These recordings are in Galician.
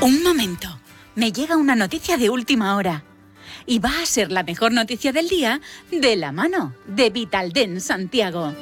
Un momento, me llega una noticia de última hora. Y va a ser la mejor noticia del día de la mano de Vitaldent Santiago.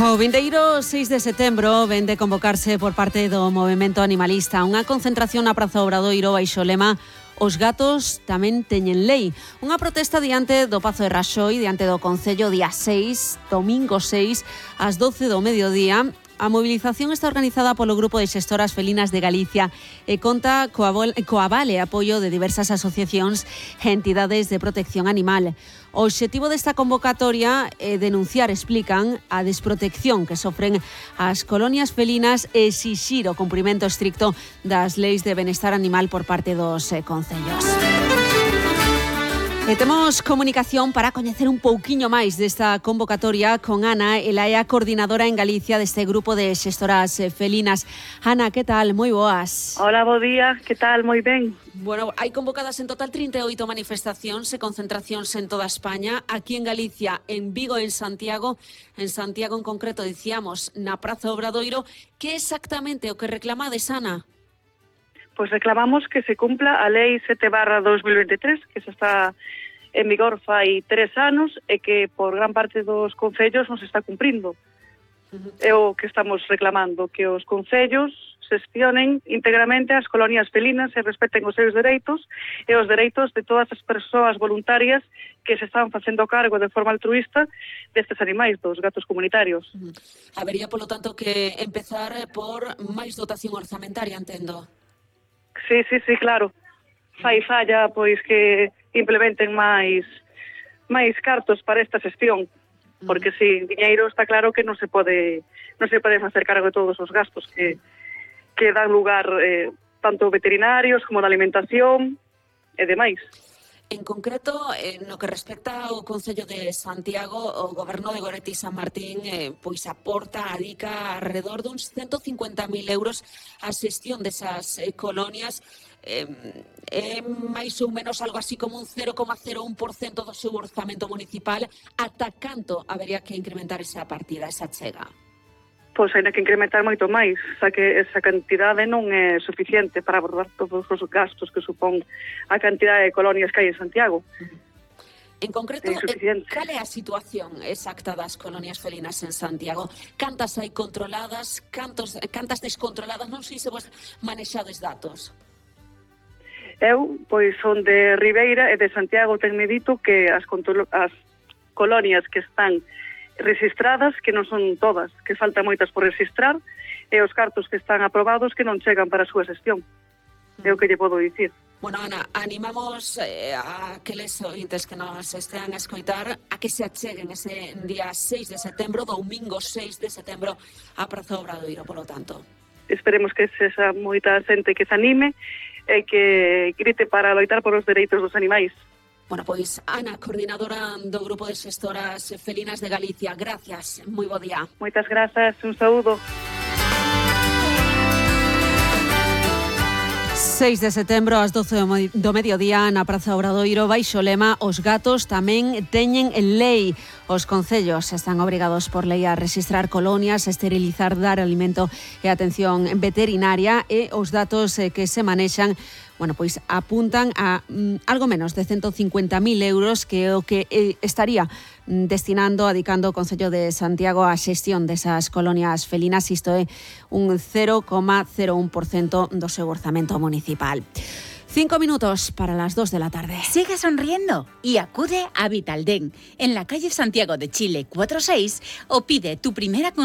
O vindeiro 6 de setembro ven de convocarse por parte do Movemento Animalista unha concentración na Praza Obradoiro baixo o lema Os gatos tamén teñen lei. Unha protesta diante do Pazo de Raxoi, diante do Concello día 6, domingo 6, ás 12 do mediodía. A mobilización está organizada polo Grupo de Xestoras Felinas de Galicia e conta co aval e apoio de diversas asociacións e entidades de protección animal. O obxectivo desta convocatoria é denunciar, explican, a desprotección que sofren as colonias felinas e exixir o cumprimento estricto das leis de benestar animal por parte dos concellos. E temos comunicación para coñecer un pouquiño máis desta convocatoria con Ana, ela é a coordinadora en Galicia deste grupo de xestoras felinas. Ana, que tal? Moi boas. Hola, bo día, que tal? Moi ben. Bueno, hai convocadas en total 38 manifestacións e concentracións en toda España, aquí en Galicia, en Vigo e en Santiago en concreto, dicíamos, na Praza Obradoiro. Que exactamente o que reclamades, Ana? Pois reclamamos que se cumpla a Lei 7/2023, que se está en vigor fai 3 anos e que por gran parte dos concellos non se está cumprindo. É o que estamos reclamando, que os concellos xestionen íntegramente as colonias felinas e respeten os seus dereitos e os dereitos de todas as persoas voluntarias que se están facendo cargo de forma altruista destes animais, dos gatos comunitarios. Habería, polo tanto, que empezar por máis dotación orzamentaria, entendo. Sí, claro. Fai falla pois que implementen máis cartos para esta xestión, porque sin diñeiro está claro que non se pode facer cargo de todos os gastos que dan lugar tanto veterinarios como de alimentación e demais. En concreto, no que respecta ao Concello de Santiago, o Goberno de Goretti San Martín pois aporta, adica alrededor duns 150.000 euros a xestión desas colonias. É máis ou menos algo así como un 0,01% do seu orzamento municipal. Ata canto habería que incrementar esa partida, esa chega? Pois hai que incrementar moito máis, xa que esa cantidade non é suficiente para abordar todos os gastos que supón a cantidade de colonias que hai en Santiago. En concreto, cal é a situación exacta das colonias felinas en Santiago? Cantas hai controladas, cantas descontroladas? Non sei se vos manexades datos. Eu, pois, son de Ribeira e de Santiago, tenme dito que as colonias que están rexistradas, que non son todas, que faltan moitas por registrar, e os cartos que están aprobados que non chegan para a súa xestión. É o que lle podo dicir. Bueno, Ana, animamos a aqueles ointes que nos estean a escoitar a que se acheguen ese día 6 de setembro, domingo 6 de setembro, a Praza Obradoiro, polo tanto. Esperemos que sexa moita xente que se anime e que grite para loitar por os dereitos dos animais. Bueno, pois, Ana, coordinadora do Grupo de Xestoras Felinas de Galicia, gracias, moi bo día. Moitas grazas, un saúdo. 6 de setembro, ás 12 do mediodía, na Praza Obradoiro, baixo o lema Os gatos tamén teñen lei. Os concellos están obrigados por lei a registrar colonias, esterilizar, dar alimento e atención veterinaria, e os datos que se manexan, bueno, pois apuntan a algo menos de 150.000 euros, que é o que estaría destinando, adicando o Concello de Santiago á xestión desas colonias felinas. Isto é un 0,01% do seu orzamento municipal. 5 minutos para las 2 de la tarde. Sigue sonriendo y acude a Vitaldent en la calle Santiago de Chile 46 o pide tu primera consulta